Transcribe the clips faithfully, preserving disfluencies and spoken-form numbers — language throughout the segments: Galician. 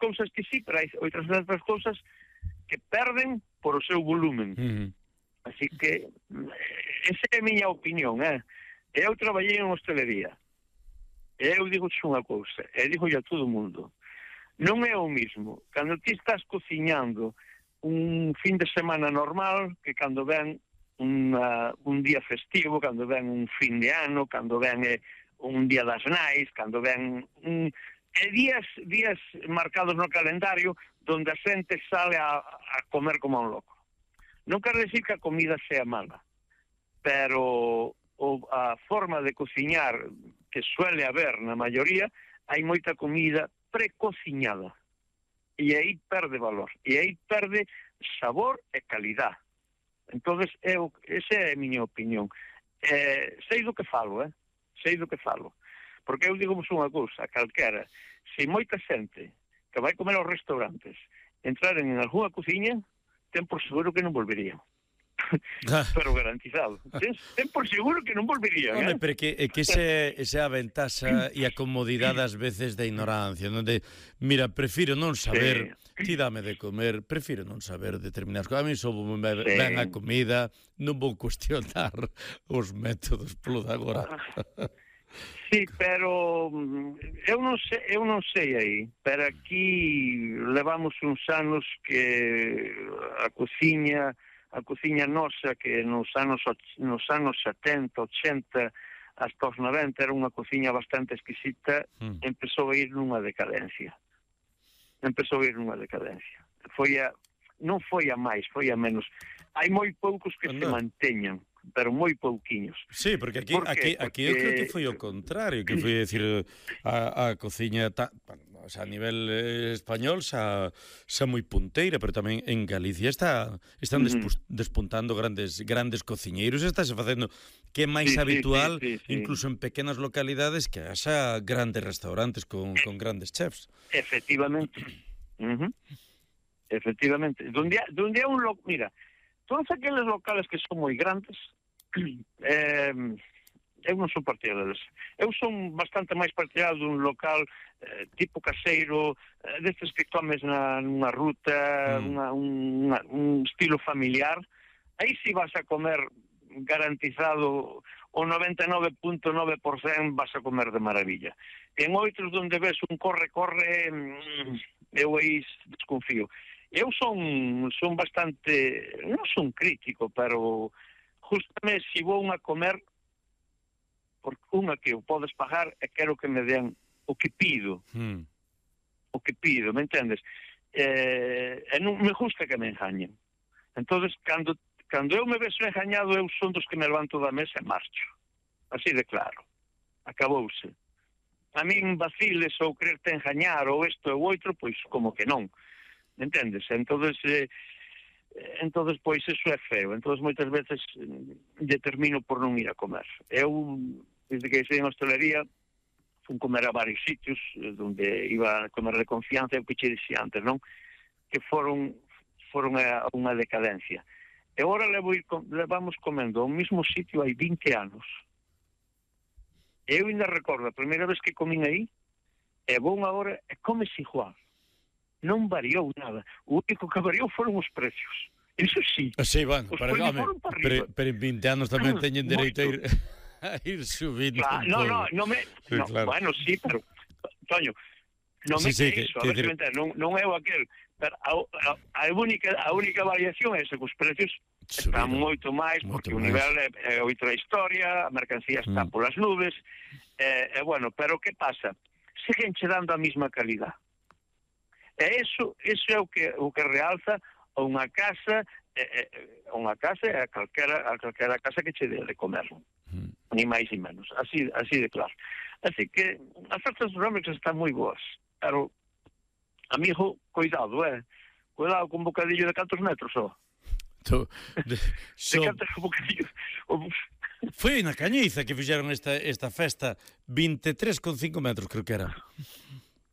cousas que sí, pero hai outras outras cousas que perden por o seu volumen. Uh-huh. Así que esa é a miña opinión, eh? Eu traballei en hostelería. E eu digo unha cousa, e digo a todo o mundo. Non é o mismo cando ti estás cociñando un fin de semana normal que cando ven una, un día festivo, cando ven un fin de ano, cando ven eh, un día das nais, cando ven un, eh, días días marcados no calendario donde a xente sale a, a comer como un loco. Non quero decir que a comida sea mala, pero o, a forma de cociñar que suele haber na maioría, hai moita comida precociñada. E aí perde valor, e aí perde sabor e calidad. Entonces, eu, esa é a miña opinión. Eh, sei do que falo, eh? Sei do que falo. Porque eu digo unha cousa, calquera, se moita xente que vai comer aos restaurantes entraren en algunha cociña, ten por seguro que non volverían. Pero garantizado. Ten, ten por seguro que non volverían. Home, eh? pero que, é que ese, esa aventaxa e a comodidade ás veces da ignorancia, onde, mira, prefiro non saber, sí. Ti dame de comer, prefiro non saber determinadas cousas. A mí só me sí. Ben a comida, non vou cuestionar os métodos polo de agora. Sí, pero eu non sei, eu non sei aí, pero aquí levamos uns anos que a cociña a cociña nosa, que nos anos nos anos setenta, ochenta hasta os noventa era unha cociña bastante exquisita, mm. empezou a ir nunha decadencia. Empezou a ir nunha decadencia. Foi a, non foi a máis, foi a menos. Hai moi poucos que no. se manteñan, pero moi pouquiños. Sí, porque aquí, ¿Por aquí, aquí porque... eu creo que foi o contrario, que foi decir a, a cociña ta, o sea, a nivel eh, español xa, xa moi punteira, pero tamén en Galicia está están uh-huh. despu, despuntando grandes grandes cociñeiros, estáse facendo que é máis sí, habitual, sí, sí, sí, incluso sí. en pequenas localidades, que haxa grandes restaurantes con, con grandes chefs. Efectivamente. Uh-huh. Efectivamente. Donde, donde un lo... Mira, todos aqueles locales que son moi grandes, eh, eu non son partidario deles. Eu son bastante máis partidario dun local eh, tipo caseiro, eh, destes que comes na, nunha ruta, mm. unha, unha, un estilo familiar. Aí si vas a comer garantizado o noventa e nove punto nove por cento vas a comer de maravilla. En outros donde ves un corre-corre, eu aí desconfío. Eu son son bastante, non son crítico, pero justamente se vou a comer, porque unha que o podes pagar e quero que me den o que pido. Mm. O que pido, me entendes? Eh, e non me gusta que me engañen. Entonces, cando, cando eu me vexo engañado, eu son dos que me levanto da mesa e marcho. Así de claro. Acabouse. A min vaciles ou quererte engañar ou isto ou outro, pois como que non. Me entendes? Entonces, eh, entonces pois eso é feo. Entonces moitas veces determino por non ir a comer. Eu, desde que sei en hostelería, fun comer a varios sitios onde iba a comer de confianza, e o que che dixía antes, non? Que foron foron a unha decadencia. E agora levo ir, levamos comendo ao mesmo sitio hai vinte anos. Eu ainda recordo a primeira vez que comín aí, e vou agora e comes igual. Non variou nada. O único que variou foron os precios. Iso sí. Sí, bueno, pero, home, pero, pero en vinte anos tamén ah, teñen dereito a ir, a ir subindo. Claro, no, no, no me... Sí, no, claro. Bueno, sí, pero... Toño, non me sí, sí, que iso, que, a ver, que... non, non é o aquel. Pero a, a, a, única, a única variación é ese que os precios están moito máis, moito porque máis. O nivel é, é outra historia, a mercancía está mm. polas nubes, e, e bueno, pero que pasa? Seguen che dando a mesma calidad. E iso, iso é o que o que realza unha casa, eh, unha casa é a calquera, a calquera casa que che dé de comer. Mm. Ni máis ni menos, así así de claro. Así que as ofertas gastronómicas están moi boas, pero amigo, cuidado, eh. Cuidado con bocadillo de cantos metros, ó. To, de, so... de cantos bocadillos. Foi na Cañiza que fixeron esta esta festa, vinte e tres con cinco metros, creo que era.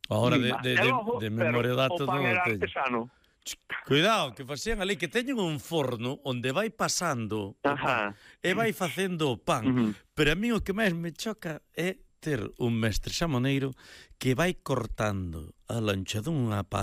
Ahora de, de, de, de memoria datos non o teño. Cuidado, que facían ali, que teñen un forno onde vai pasando pan, e vai facendo o pan. Uh-huh. Pero a mí o que máis me choca é ter un mestre xamoneiro que vai cortando a lancha dunha pata